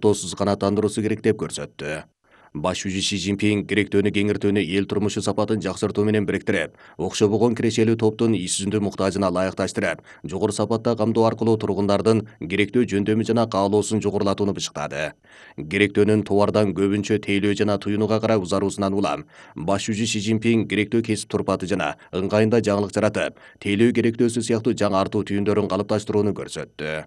тоосуз канааттандыруусу керек деп көрсөттү. Баш жүзү Си Цзиньпин керектөөнү кеңиртүүнү эл турмушу сапатын жакшыртуу менен бириктирип, окшобогон кирешелүү топтун иш жүзүндө муктажына ылайыкташтырып, жогору сапатта камдоо аркылуу тургундардын керектөө жөндөмү жана каалоосун жогорулатууну бышыктады. Керектөөнүн товардан көбүнчө тейлөө жана туюнууга карай узаруусунан улам, баш жүзү Си Цзиньпин керектөө кесип турпаты жана ыңгайында жаңылык жаратып, тейлөө керектөөсү сыяктуу жаңы артуу түйүндөрүн калыпташтырууну көрсөттү.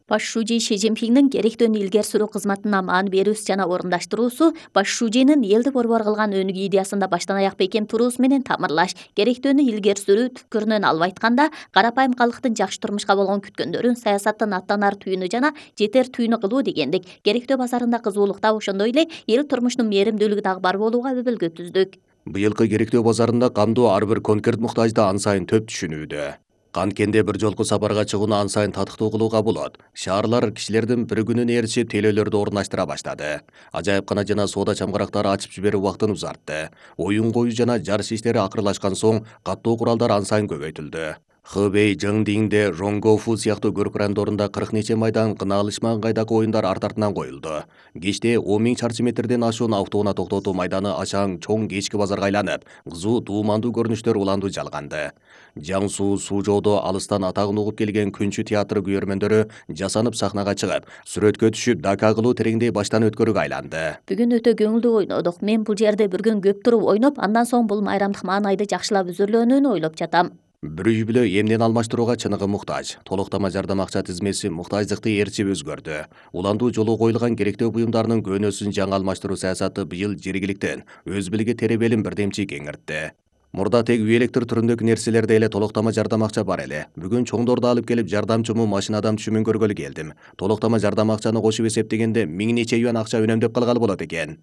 Баш шужи Си Цзиньпиндин керектөөнү илгери сүрүү кызматына маани берүүсү жана орундаштыруусу баш шужинин элди борбор кылган өнүгүү идеясында баштан аяк бекем туруусу менен тамырлаш, керектөөнү илгери сүрүү түпкүрүнөн алып айтканда, карапайым калктын жакшы турмушка болгон күткөндөрүн саясаттын аттанар түйүнү жана жетер түйүнү кылуу дегендик. Керектөө базарында кызуулук дагы ошондой эле эл турмушунун мээримдүүлүгү дагы бар болууга өбөлгө түздүк. Быйылкы керектөө базарында камдоо ар бир конкрет муктажды ан сайын төп түшүнүүдө. Канткенде бир жолку сапарга чыгууну ан сайын татыктуу кылууга болот. Шаарлар кишилердин bir күнүнө ээрчип тейлөөлөрдү орундаштыра баштады. Ажайыпкана жана соода чамгарактары ачып жиберүү убактын узартты. Оюн коюу жана жарыш иштери акырлашкан соң каттоо куралдар ан сайын көбөйтүлдү. Хэбэй, Жэңдиңде, Ронгофу сыяктуу көрк райондорунда 40 нече майдан кынаалышмаган кайдагы оюндар арт артынан коюлду. Кечте 10 000 чарчы метрден ашуун автоунаа токтотуу майданы ашаң чоң кечки базарга айланып, кызуу дуумандуу көрүнүштөр уланду жалганды. Жаңсу, Сужоодо алыстан атагын угуп келген Күнчү театры күйөрмөндөрү жасанып сахнага чыгып, сүрөткө түшүп, дака кылуу тереңдей баштан өткөрүүгө айланды. Бүгүн өтө көңүлдүү ойнодук. Мен бул жерде bir күн көп туруп ойноп, андан соң бул майрамдык маанайды жакшылап үзүрлөөнүн ойлоп жатам. Bir үй бүлө эмнен алмаштырууга чыныгы муктаж. Толуктама жардам акча тизмеси муктаждыкты ээрчип өзгөрдү. Уландуу жолу коюлган керектөө буюмдарынын көөнөсүн жаңы алмаштыруу саясаты быйыл жергиликтен өз билиги теребелин бирдемчи кеңиртти. Мурда тег үй электр түрүндөгү нерселерде эле толуктама жардам акча бар эле. Бүгүн чоңдорду алып келип жардамчымы машинадан түшүмүн көргөлү келдим. Толуктама жардам акчаны кошуп эсептегенде 1000 нече юан акча үнөмдөп калгалы болот экен.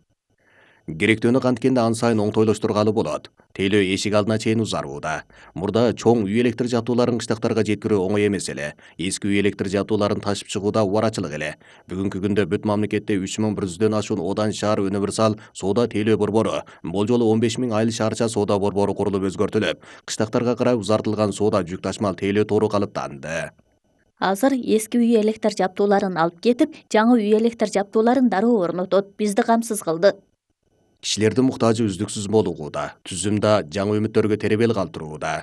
Керектөөнү канткенде ан сайын оңтойлоштургалы болот. Тейлөө эшик алдына чейин узарууда. Мурда чоң үй электр жабдууларын кыштактарга жеткирүү оңой эмес эле. Эски үй электр жабдууларын ташып чыгууда убарачылык эле. Бүгүнкү күндө бүт мамлекетте 3100дөн ашуун Одан шаар универсал соода тейлөө борбору, болжолу 15 000 айыл шаарча соода борбору курулуп өзгөртүлүп, кыштактарга карай узартылган соода жүк ташмал тейлөө тору калыптанды. Азыр эски үй электр жабдууларын алып кетип, жаңы үй электр жабдууларын дароо орнотот. Бизди камсыз кылды. Кишилердин муктажы үздүксүз молугууда, түзүмдө жаңы үмүттөргө теребел калтырууда.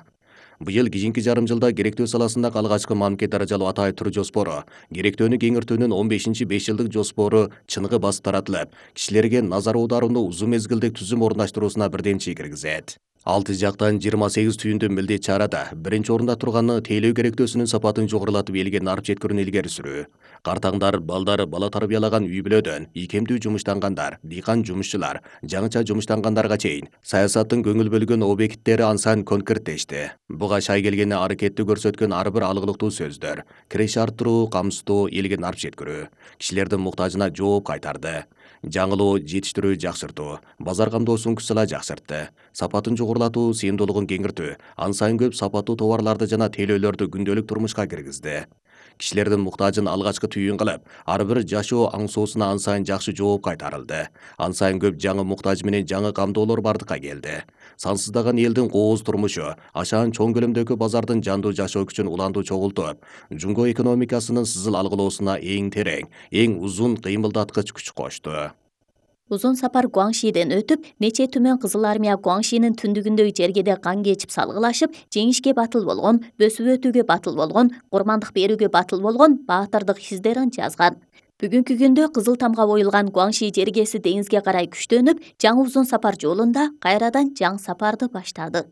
Быйыл кийинки жарым жылда керектөө саласындагы алгачкы мамлекет даражалуу атайып тур жоспору, керектөөнү кеңиртүүнүн 15-5 жылдык жоспору чыныгы басып таратылып, кишилерге назар аударууну узун мезгилдик түзүм орундаштыруусуна бирдемчи киргизет. 6 жактан 28 түйүндүү милдет чарада биринчи орунда турганы тейлөө керектөөсүнүн сапатын жогорулатып элге нарып жеткирүүнү илгери сүрүү. Картаңдар, балдар, бала тарбиялаган үй бүлөдөн, ийкемдүү жумуштангандар, дыйкан жумушчулар, жаңыча жумуштангандарга чейин саясаттын көңүл бөлгөн объекттери ан сайын конкреттешти. Буга шай келгени аракетти көрсөткөн ар бир алгылыктуу сөздөр, киреш арттыруу, камсыздоо, элге нарып жеткирүү, кишилердин муктажына жооп кайтарды. Жаңылоо, жетиштирүү, жакшыртуу, базар камдоосун күчсала жакшыртты. Сапатын жогорулатуу, сыйымдуулугун кеңиртүү, ан сайын көп сапаттуу товарларды жана тейлөөлөрдү күндөлүк турмушка киргизди. Кишилердин муктажын алгачкы түйүн кылып, ар бир жашоо аңсоосуна ан сайын жакшы жооп кайтарылды. Ан сайын көп жаңы муктаж менен жаңы камдоолор бардыкка келди. Сансыздаган элдин кооз турмушу, ашаан чоң көлөмдөгү базардын жандуу жашоо күчүн уландуу чогултуп, жумго экономикасынын сызыл алгылоосуна эң терең, эң узун кыймылдаткыч күч кошту. Узун сапар Гуаңшиден өтүп, нече түмөн Кызыл армия Гуаңшинин түндүгүндөгү жергеде кан кечип салгылашып, жеңишке батыл болгон, бөсүп өтүүгө батыл болгон, курмандык берүүгө батыл болгон баатырдык издерин жазган. Бүгүнкү күндө Кызыл тамга коюлган Гуаңши жергеси деңизге карай күчтөнүп, жаңы узун сапар жолунда кайрадан жаңы сапарды баштады.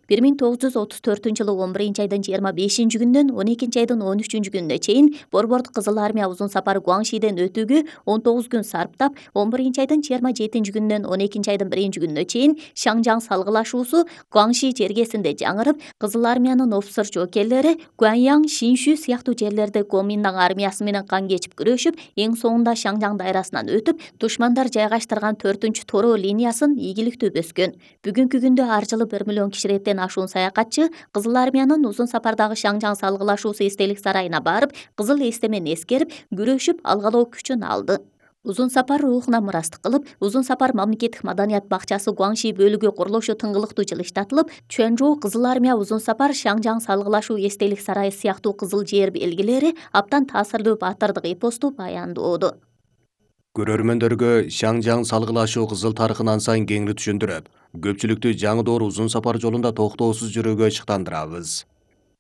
1934-жылы 11-айдын 25-күндөн 12-айдын 13-күнүнө чейин Борбордук Кызыл армия узун сапар Гуаңшиден өтүүгө 19 күн сарптап, 11-айдын 27-күнүнөн 12-айдын 1-күнүнө чейин Шаңжаң салгылашуусу Гуаңши жергесинде жаңырып, Кызыл армиянын офицер жоокерлери Гуаньяң, Шиншү сыяктуу жерлерде Гоминдаң армиясы менен кан кечип күрөшүп, эң соңунда Шаңжаң дайрасынан өтүп, душмандар жайгаштырган 4-Торо линиясын ийгиликтүү бөскөн. Бүгүнкү күндө ар жылы 1 миллион кишилерден ашуун саякатчы Кызыл армиянын узун сапардагы Шаңжаң салгылашуусу эстелик сарайына барып, кызыл эстемени эскерип, күрөшүп, алгалоо күчүн алды. Узун сапар рухуна мурастык кылып, узун сапар мамлекеттик маданият бакчасы Гуаңши бөлүгү курулушу тыңгылыктуу жылыштатылып, Чуанчжоу Кызыл армия узун сапар Шаңжаң салгылашуу эстелик сарайы сыяктуу кызыл жер белгилери аптан таасирлүү баатырдык эпосту баяндоодо. Көрөрмөндөргө Шаңжаң салгылашуу кызыл тарыхын ансайын кеңири түшүндүрүп, көпчүлүктү жаңы доор узун сапар жолунда токтоосуз жүрүүгө ышыктандырабыз.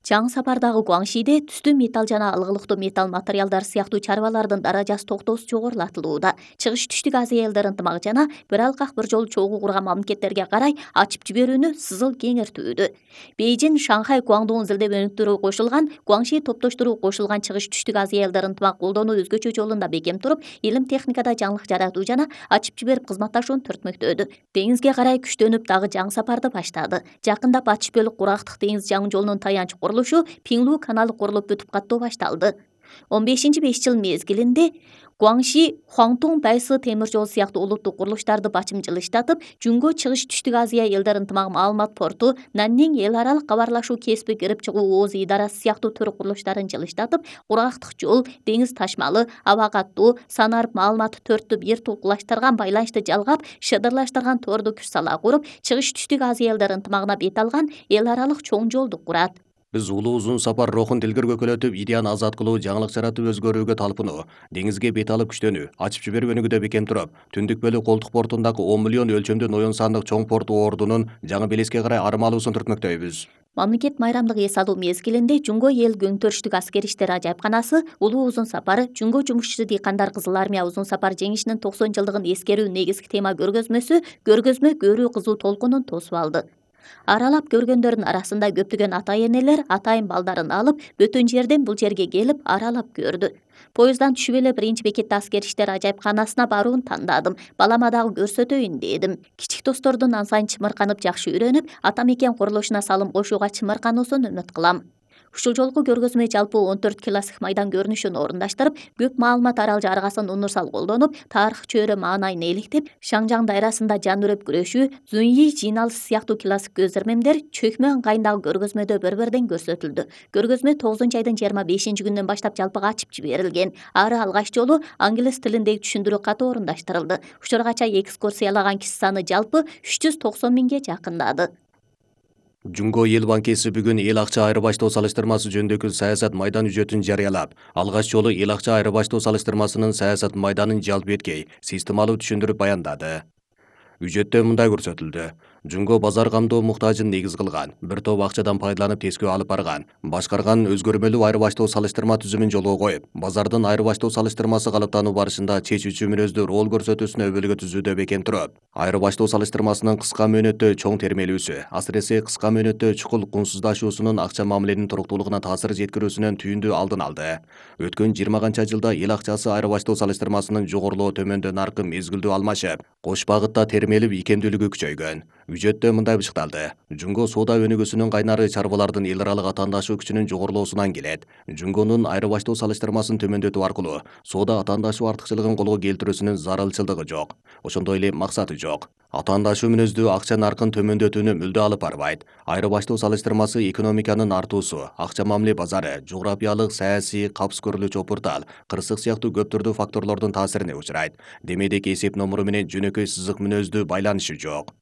Жаңы сапардагы Гуаңшиде түстүү металл жана алгылыктуу металл материалдар сыяктуу чарбалардын даражасы токтоосуз жогорулатылууда. Чыгыш түштүк Азия элдер ынтымагы жана бир алкак бир жолу чогуу курган мамлекеттерге карай ачып жиберүүнү сызыл кеңиртүүдө. Бейжин, Шанхай, Гуаңдун зилдемеликтери кошулган Гуаңши топтоштуруу кошулган чыгыш түштүк Азия элдер ынтымак колдонуу өзгөчө жолунда бекем туруп, илим техникада жаңылык жаратуу жана ачып жиберип кызматташууну төртмөктөдү. Деңизге карай күчтөнүп дагы жаңы сапарды баштады. Жакында Ачык Бөлүк кургактык деңиз жаңы жолунун таянч курулушу Пиңлу каналы курулуп бүтүп каттоо башталды. 15-5 жыл мезгилинде Гуаңши, Хуаңтун, Байсы темир жол сыяктуу улуттук курулуштарды бачымчыл иштатып, Жүнгө чыгыш түштүк Азия элдер ынтымагы маалымат порту, Наннин эл аралык кабарлашуу кесиби кирип чыгуу ооз идарасы сыяктуу төр курулуштарын жылыштатып, кургактык жол, деңиз ташмалы, аба каттуу, санарып маалыматты төрттү бир тулкулаштырган байланышты жалгап, шыдырлаштырган торду күч сала куруп, чыгыш түштүк Азия элдер ынтымагына бет алган эл аралык чоң жолду курат. Биз улуу узун сапар рухун дилгер көкөлөтүп, идеяны азат кылуу, жаңылык жаратып өзгөрүүгө талпынуу, деңизге бет алып күчтөнүү, ачып жиберүү өнүгүүдө бекем туруп, Түндүк Бөлүк колдук портундагы 10 миллион өлчөмдүү Ноён сандык чоң порту ордунун жаңы белеске карай армалуусун түртмөктөйбүз. Мамлекет майрамдык эс алуу мезгилинде Жүнгө эл көңтөрүштүк аскер иштери ажайыпканасы улуу узун сапары Жүнгө жумушчу дыйкандар Кызыл армия узун сапар жеңишинин 90 жылдыгын эскерүү негизги тема көргөзмө көрүү кызуу толкунун тосуп алды. Аралап көргөндөрдүн арасында көптөгөн ата-энелер атайын балдарын алып, бөтөн жерден бул жерге келип аралап көрдү. Поезддан түшүп эле биринчи бекетте аскер иштери ажайыпканасына барууну тандадым. Балама дагы көрсөтөйүн дедим. Кичик достордун ансайын чымырканып жакшы үйрөнүп, ата мекен курулушуна салым кошууга чымыркануусун үмүт кылам. Ушул жолку көргөзмө жалпы 14 классик майдан көрүнүшүн орундаштырып, көп маалымат арал жарыгасын универсал колдонуп, тарых чөйрө маанайын эликтеп, Шаңжаң дайрасында жан үрөп күрөшүү, Зуньи жыйналышы сыяктуу классик көзөрмемдер чөкмө ыңгайындагы көргөзмөдө бир-бирден көрсөтүлдү. Көргөзмө 9-айдын 25-күнүнөн баштап жалпыга ачып жиберилген. Ары алгач жолу англис тилиндеги түшүндүрүү каты орундаштырылды. Учургача экскурсиялаган киши саны жалпы 390 миңге жакындады. Жүнгө эл банкеси бүгүн эл акча айырбаштоо салыштырмасы жөнүндөгү саясат майдан үжөтүн жарыялап, алгач жолу эл акча айырбаштоо салыштырмасынын саясат майданын жалпы эткей системалуу түшүндүрүп баяндады. Үжөттө мындай көрсөтүлдү. Жүнгө базар камдоо муктажын негиз кылган, бир топ акчадан пайдаланып тескөө алып барган, башкарган өзгөрмөлүү айырбаштоо салыштырма түзүмүн жолго коюп, базардын айырбаштоо салыштырмасы калыптануу барышында чечүүчү мүнөздүү роль көрсөтүүсүнө өбөлгө түзүүдө бекем туруп, айырбаштоо салыштырмасынын кыска мөөнөттө чоң термелүүсү, асыресе кыска мөөнөттө чукул кунсуздашуусунун акча мамиленин туруктуулугуна таасир жеткирүүсүнөн түйүндүү алдын алды. Өткөн 20 канча жылда эл акчасы айырбаштоо салыштырмасынын жогорулоо төмөндөө наркы мезгилдүү алмашып, кош багытта термелип ийкемдүүлүгү күчөйгөн. Үжөттө мындай бышыкталды. Жүнгө соода өнүгүүсүнүн кайнары чарбалардын эл аралык атаандашуу күчүнүн жогорулоосунан келет. Жүнгөнүн айырбаштоо салыштырмасын төмөндөтүү аркылуу соода атаандашуу артыкчылыгын колго келтирүүсүнүн зарылчылдыгы жок. Ошондой эле максаты жок. Атаандашуу мүнөздүү акча наркын төмөндөтүүнү мүлдө алып барбайт. Айырбаштоо салыштырмасы экономиканын артуусу, акча мамиле базары, жографиялык, саясий, капс көрүлүүчү опуртал, кырсык сыяктуу көп түрдүү факторлордун таасирине учурайт. Демедек эсеп номуру менен жөнөкөй сызык мүнөздүү байланышы жок.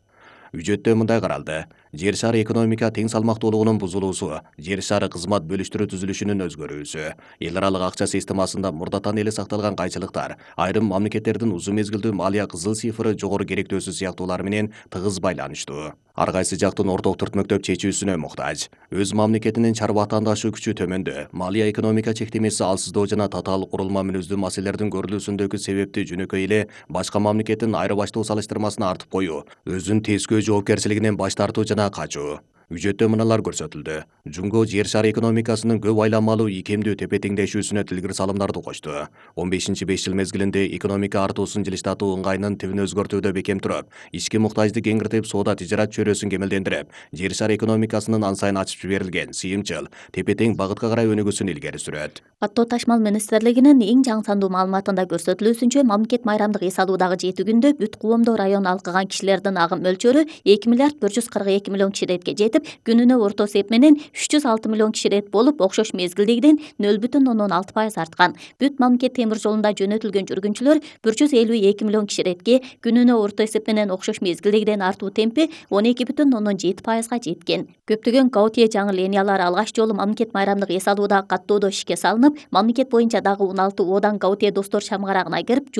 Үжөттө мындай каралды. Жер шары экономика тең салмактуулугунун бузулуусу, жер шары кызмат бөлүштүрүү түзүлүшүнүн өзгөрүүсү, эл аралык акча системасында мурдатан эле сакталган кайчылыктар, айрым мамлекеттердин узун мезгилдүү малия кызыл цифры жогору керектөөсү сыяктуулар менен тыгыз байланыштуу. Ар кайсы жактын орток түртмөктөп чечүүсүнө муктаж. Өз мамлекетинин чарба атаандашуу күчү төмөндө, малия экономика чектемеси алсыздоо жана татаал курулма мүнөздүү маселелердин көрүлүүсүндөгү себепти жөнөкөй эле башка мамлекеттин айырбаштоо салыштырмасына артып коюу, өзүн тескөө жоопкерчилигинен баш тартуу жана качуу. Үжөттө мыналар көрсөтүлдү. Жүнгө жер шары экономикасынын көп айланмалуу ийкемдүү тепе теңдешүүсүнө тилгир салымдарды кочту. 15-5 жыл мезгилинде экономика артуусун жылыштатуу ыңгайынын тибин өзгөртүүдө бекем туруп, ички муктажды кеңиртип, соода тижарат чөйрөсүн кемелдендирип, жер шары экономикасынын ансайын ачып жиберилген, сыйымчыл, тепе тең багытка карай өнүгүүсүн илгери сүрөт. Каттоо ташмал министрлигинин эң жаңы сандуу маалыматында көрсөтүлүүсүнчө, мамлекет майрамдык эс алуудагы 7 күндө бүт Куомдо району алкыган кишилердин агым мөлчөрү 2 миллиард 142 миллион киши иретке жетип, күнүнө орто эсеп менен 306 миллион киши ирет болуп, окшош мезгилдегиден 0,6% арткан. Бүт мамлекет темир жолунда жөнөтүлгөн жүргүнчүлөр 152 миллион киши иретке күнүнө орто эсеп менен окшош мезгилдегиден артуу темпи 12,7%га жеткен. Көптөгөн Гаутие жаңы линиялары алгач жолу мамлекет майрамдык эс алуудагы каттоодо ишке салынып, мамлекет боюнча дагы 16 одан Гаутие достор чамгарагына кирип,